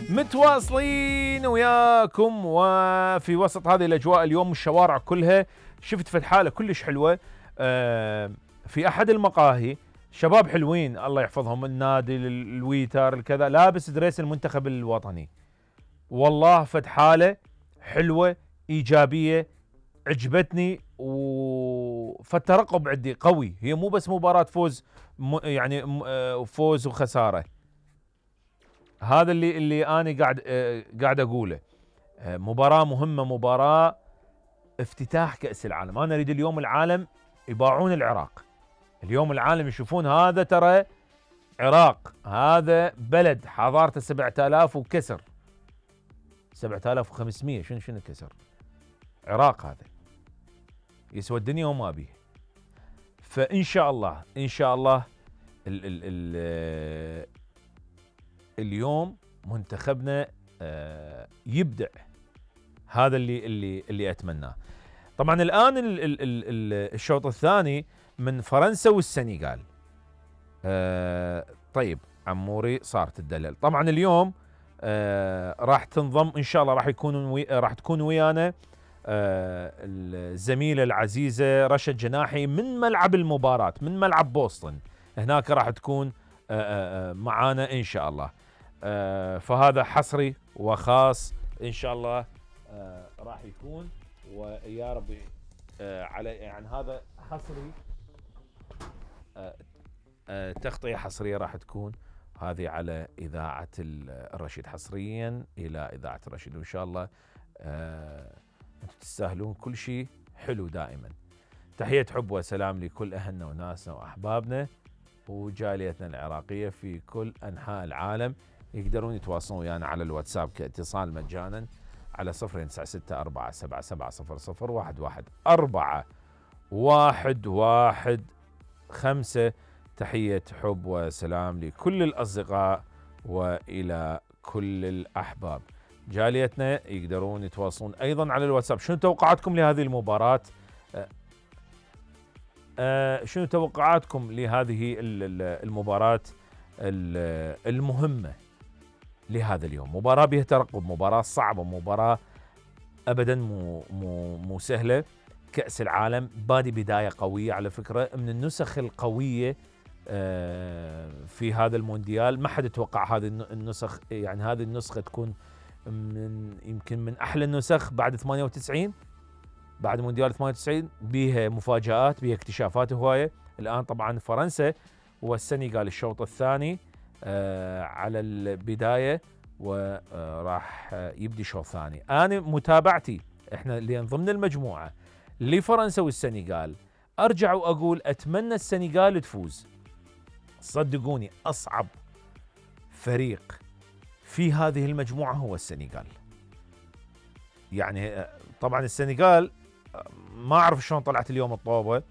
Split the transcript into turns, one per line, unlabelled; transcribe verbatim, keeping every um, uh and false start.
متواصلين وياكم وفي وسط هذه الأجواء اليوم الشوارع كلها شفت في الحالة كلش حلوة. آه في أحد المقاهي شباب حلوين الله يحفظهم، النادي الويتر الكذا، لابس دريس المنتخب الوطني. والله فد حالة حلوة إيجابية عجبتني، فالترقب عندي قوي. هي مو بس مباراة فوز يعني فوز وخسارة، هذا اللي اللي أنا قاعد قاعد أقوله. مباراة مهمة، مباراة افتتاح كأس العالم. أنا أريد اليوم العالم يباعون العراق، اليوم العالم يشوفون هذا ترى عراق، هذا بلد حضارته سبعة آلاف وكسر، سبعة آلاف وخمسمية، شنو شنو كسر عراق، هذا يسوى الدنيا وما بيه. فإن شاء الله إن شاء الله ال ال ال اليوم منتخبنا يبدع، هذا اللي اللي اللي أتمناه. طبعا الآن ال ال ال الشوط الثاني من فرنسا والسنغال. آه طيب عموري صارت الدلل. طبعا اليوم آه راح تنضم ان شاء الله، راح يكون وي راح تكون ويانا آه الزميله العزيزه رشا جناحي من ملعب المباراه، من ملعب بوسطن، هناك راح تكون آه آه معانا ان شاء الله. آه فهذا حصري وخاص ان شاء الله آه راح يكون، ويا ربي آه على يعني هذا حصري، آه آه تغطية حصرية راح تكون هذه على إذاعة الرشيد، حصريا إلى إذاعة الرشيد، وإن شاء الله آه أنتم تستاهلون كل شيء حلو دائما. تحية حب وسلام لكل أهلنا وناسنا وأحبابنا وجاليتنا العراقية في كل أنحاء العالم. يقدرون يتواصلون ويانا على الواتساب كاتصال مجانا على صفر تسعة ستة أربعة سبعة سبعة صفر صفر واحد واحد أربعة واحد واحد خمسة. تحية حب وسلام لكل الأصدقاء وإلى كل الأحباب. جاليتنا يقدرون يتواصلون أيضا على الواتساب. شنو توقعاتكم لهذه المباراة؟ أه أه شنو توقعاتكم لهذه المباراة المهمة لهذا اليوم؟ مباراة بها ترقب، مباراة صعبة، مباراة أبدا مو, مو, مو سهلة. كأس العالم بادي بداية قوية على فكرة، من النسخ القوية في هذا المونديال. ما حد يتوقع هذه النسخ، يعني هذه النسخة تكون من يمكن من أحلى النسخ بعد ثمانية وتسعين، بعد مونديال ثمانية وتسعين، بيها مفاجآت، بيها اكتشافات هواية. الآن طبعا فرنسا والسنغال الشوط الثاني على البداية، وراح يبدي شوط ثاني. أنا متابعتي احنا اللي ضمن المجموعة لفرنسا والسنغال، أرجع وأقول أتمنى السنغال تفوز. صدقوني أصعب فريق في هذه المجموعة هو السنغال. يعني طبعا السنغال ما أعرف شلون طلعت اليوم الطوبة،